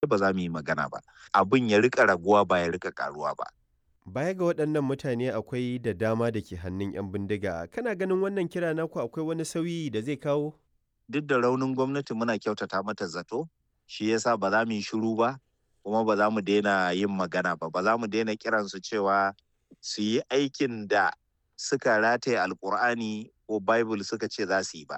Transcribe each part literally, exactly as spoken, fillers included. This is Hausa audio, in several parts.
Ba za mu yi magana ba. Abin ya riƙa raguwa, ba ya riƙa ƙaruwa ba. Baya ga waɗannan mutane, akwai da dama da ke hannun 'yan bindiga. Kana ganin wannan kira naku akwai wani sauyi da zai kawo? Duk da raunin gwamnati, muna kyautata mata zato, shi yasa ba za mu yi shiru ba, kuma ba za mu daina yin magana ba, ba za mu daina kiransu cewa su yi aikin da suka rataye Alkur'ani ko Bible suka ce za su yi ba.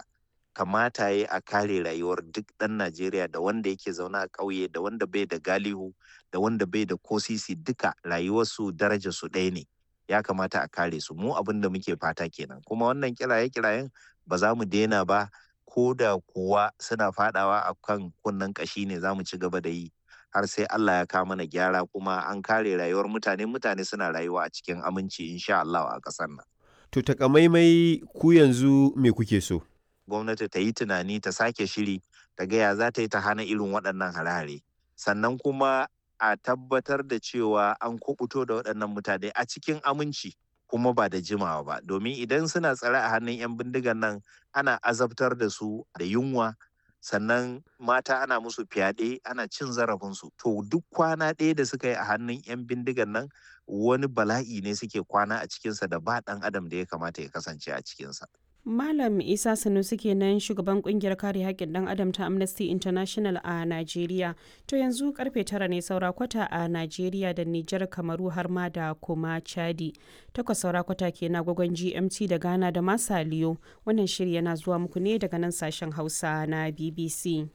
Kamata ya yi a kare rayuwar duk ɗan Najeriya, da wanda yake zaune a ƙauye, da wanda bai da galihu, da wanda bai da ko sisi, duka rayuwarsu darajarsu ɗaya ne. Ya kamata a kare su. Mu abin da muke fata kenan. Kuma wannan kiraye-kirayen ba za mu daina ba, ko da kuwa suna faɗawa a kan kunnen ƙashi ne, za mu ci gaba da yi har sai Allah ya kawo mana gyara kuma an kare rayuwar mutane, mutane suna rayuwa a cikin aminci insha Allah a ƙasar nan. To, takamaimai ku yanzu me kuke so? Gwamnati ta yi tunani, ta sake shiri, ta ga ya za ta yi ta hana irin waɗannan hare-hare. Sannan kuma a tabbatar da cewa an kuɓuto da waɗannan mutane a cikin aminci, kuma ba da jimawa ba, domin idan suna tsare a hannun 'yan bindigan nan, ana azabtar da su da yunwa, sannan mata ana musu fyaɗe, ana cin zarafinsu. To, duk kwana ɗaya da suka yi a hannun 'yan bindigan nan, wani bala'i ne suke kwana a cikinsa da ba ɗan adam da ya kamata ya kasance a cikinsa. Malam Isa Sanusi kenan, shugaban kungiyar kare haƙƙin ɗan adam ta Amnesty International a Najeriya. To, yanzu karfe tara ne saura kwata a Najeriya da Nijar, Kamaru har ma da kuma Chadi. Takwas saura kwata ke na agogon G M T da Ghana da Masaliyo. Wannan shiri yana zuwa muku ne daga nan sashen Hausa na B B C.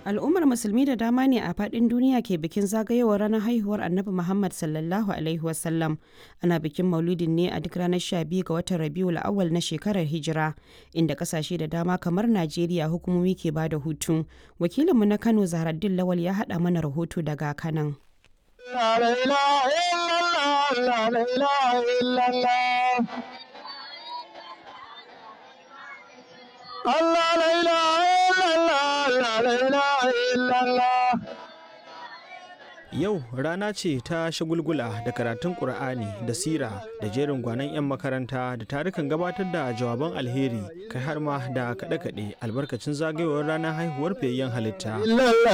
Al'ummar Musulmi da dama ne a faɗin duniya ke bikin zagayowar ranar haihuwar Annabi Muhammad sallallahu Alaihi wasallam. Ana bikin maulidin ne a duk ranar sha biyu ga watan Rabiul Awwal na shekarar Hijira, inda kasashe da dama kamar Najeriya hukumomi ke ba da hutu. Wakilinmu na Kano, Zahraddin Lawal, ya haɗa mana rahoto daga Kanan. Yau rana ce ta shagulgula da karatun Ƙur'ani da sira da jerin gwanon 'yan makaranta da tarukan gabatar da jawaban alheri, kai har ma da kaɗe-kaɗe albarkacin zagayowar ranar haihuwar fiyayyen halitta.